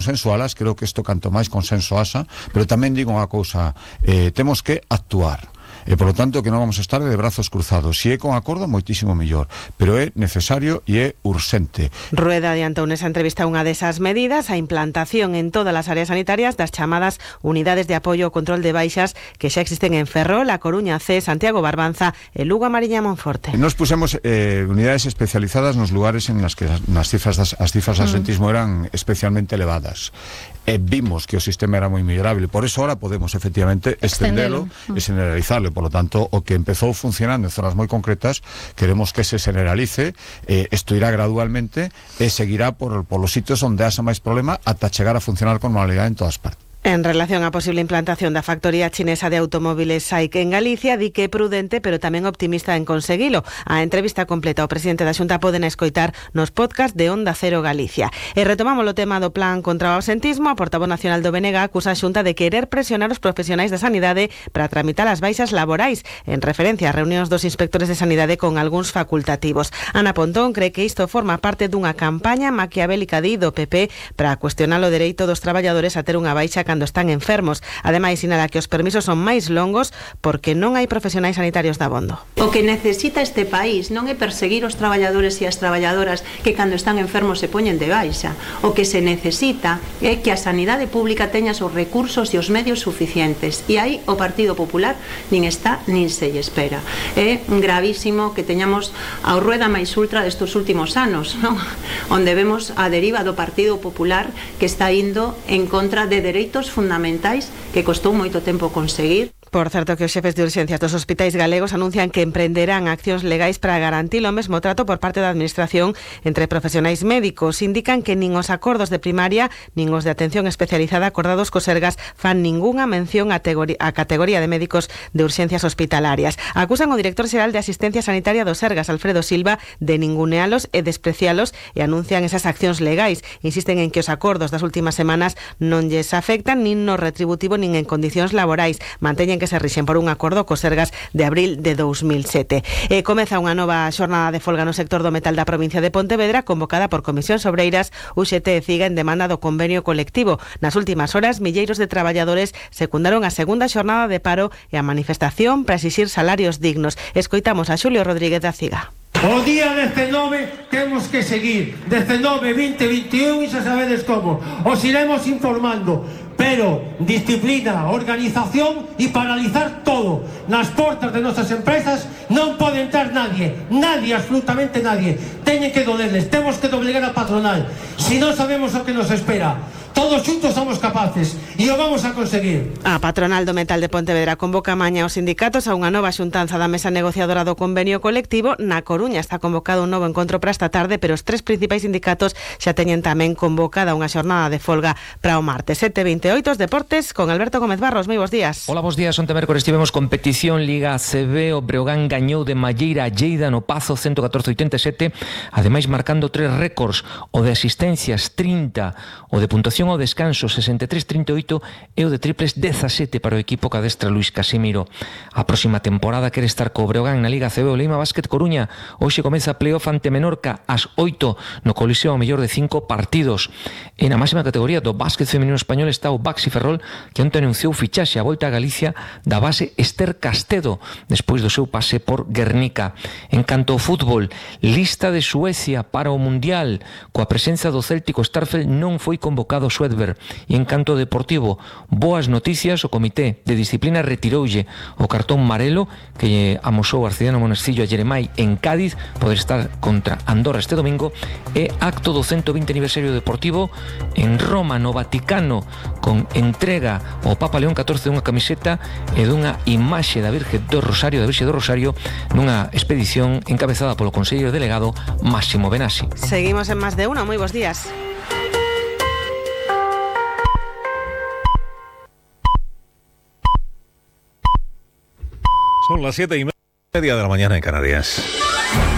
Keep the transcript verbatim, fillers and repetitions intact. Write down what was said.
consensualas, creo que isto canto máis consenso asa, pero tamén digo unha cousa, eh, temos que actuar. E, por lo tanto, que non vamos a estar de brazos cruzados. Si é con acordo, moitísimo mellor, pero é necesario e é urxente. Rueda adiantou nesa entrevista unha desas medidas, a implantación en todas as áreas sanitarias das chamadas unidades de apoio ao control de baixas que xa existen en Ferrol, A Coruña C, Santiago Barbanza e Lugo, a Mariña, Monforte. Nos pusemos eh, unidades especializadas nos lugares en las que nas cifras das, as cifras de absentismo eran especialmente elevadas. E vimos que o sistema era moi mellorable, por eso ahora podemos efectivamente extendelo e generalizarlo. Por lo tanto, o que empezou funcionando en zonas moi concretas, queremos que se generalice, eh, isto irá gradualmente e seguirá por, por los sitios onde haxa máis problema ata chegar a funcionar con normalidade en todas partes. En relación á posible implantación da factoría chinesa de automóviles S A I C en Galicia, di que é prudente, pero tamén optimista en conseguilo. A entrevista completa ao presidente da Xunta poden escoitar nos podcast de Onda Cero Galicia. E retomamos o tema do plan contra o absentismo. A portavoz nacional do B N G acusa a Xunta de querer presionar os profesionais da sanidade para tramitar as baixas laborais, en referencia a reunións dos inspectores de sanidade con algúns facultativos. Ana Pontón cree que isto forma parte dunha campaña maquiavélica de do P P para cuestionar o dereito dos traballadores a ter unha baixa cando están enfermos. Ademais, sinala que os permisos son máis longos porque non hai profesionais sanitarios dabondo. O que necesita este país non é perseguir os traballadores e as traballadoras que cando están enfermos se poñen de baixa. O que se necesita é que a sanidade pública teña os recursos e os medios suficientes. E aí o Partido Popular nin está nin se lle espera. É gravísimo que teñamos a rueda máis ultra destos últimos anos, non? Onde vemos a deriva do Partido Popular que está indo en contra de dereitos fundamentais que costou moito tempo conseguir. Por certo, que os xefes de urxencias dos hospitais galegos anuncian que emprenderán accións legais para garantir o mesmo trato por parte da administración entre profesionais médicos. Indican que nin os acordos de primaria nin os de atención especializada acordados co Sergas fan ningunha mención a, a categoría de médicos de urxencias hospitalarias. Acusan o director xeral de Asistencia Sanitaria do Sergas, Alfredo Silva, de ningunealos e desprecialos e anuncian esas accións legais. Insisten en que os acordos das últimas semanas non lles afectan nin no retributivo nin en condicións laborais. Manteñen que se rixen por un acordo co Sergas de abril de dous mil sete. E comeza unha nova xornada de folga no sector do metal da provincia de Pontevedra, convocada por Comisións Obreiras, U X T e CIGA en demanda do convenio colectivo. Nas últimas horas, milleiros de traballadores secundaron a segunda xornada de paro e a manifestación para exixir salarios dignos. Escoitamos a Xulio Rodríguez da CIGA. O día dezenove temos que seguir, dezenove, vinte, veintiún e xa sabedes como. Os iremos informando, pero disciplina, organización e paralizar todo. Nas portas de nosas empresas non pode entrar nadie, nadie, absolutamente nadie. Teñen que dolerles, temos que doblegar a patronal. Si non sabemos o que nos espera. Todos xuntos somos capaces e o vamos a conseguir. A patronal do metal de Pontevedra convoca mañá os sindicatos a unha nova xuntanza da mesa negociadora do convenio colectivo. Na Coruña está convocado un novo encontro para esta tarde, pero os tres principais sindicatos xa teñen tamén convocada unha xornada de folga para o martes. sete e vinte e oito, os deportes con Alberto Gómez Barros. Moi bons días. Hola, bons días. Onte mércores tivemos competición Liga A C B. O Breogán gañou de Malleira a Lleida no Pazo ciento catorce a oitenta e sete, ademais marcando tres récords: o de asistencias trinta, o de puntuación ao descanso sesenta e tres a trinta e oito e o de triples dezasete para o equipo que adestra Luís Casimiro. A próxima temporada quere estar co Breogán na Liga A C B. O Leima Basket Coruña hoxe comeza a playoff ante Menorca ás oito no Coliseo ao mellor de cinco partidos. E na máxima categoría do básquet feminino español está o Baxi Ferrol, que onte anunciou fichaxe a volta a Galicia da base Esther Castedo despois do seu pase por Guernica. En canto ao fútbol, lista de Suecia para o Mundial. Coa presenza do Céltico, Starfelt non foi convocado Schwedberg. E en canto deportivo, boas noticias: o Comité de Disciplina retiroulle o cartón marelo que amosou Arcediano Monestillo a Jeremai en Cádiz, poder estar contra Andorra este domingo. E acto do ciento vinte aniversario deportivo en Roma, no Vaticano, con entrega ao Papa León catorce dunha camiseta e dunha imaxe da Virxe do Rosario, da Virxe do Rosario, nunha expedición encabezada polo conselleiro delegado Máximo Benassi. Seguimos en Más de Uno. Moi bons días. Son las siete y media de la mañana en Canarias.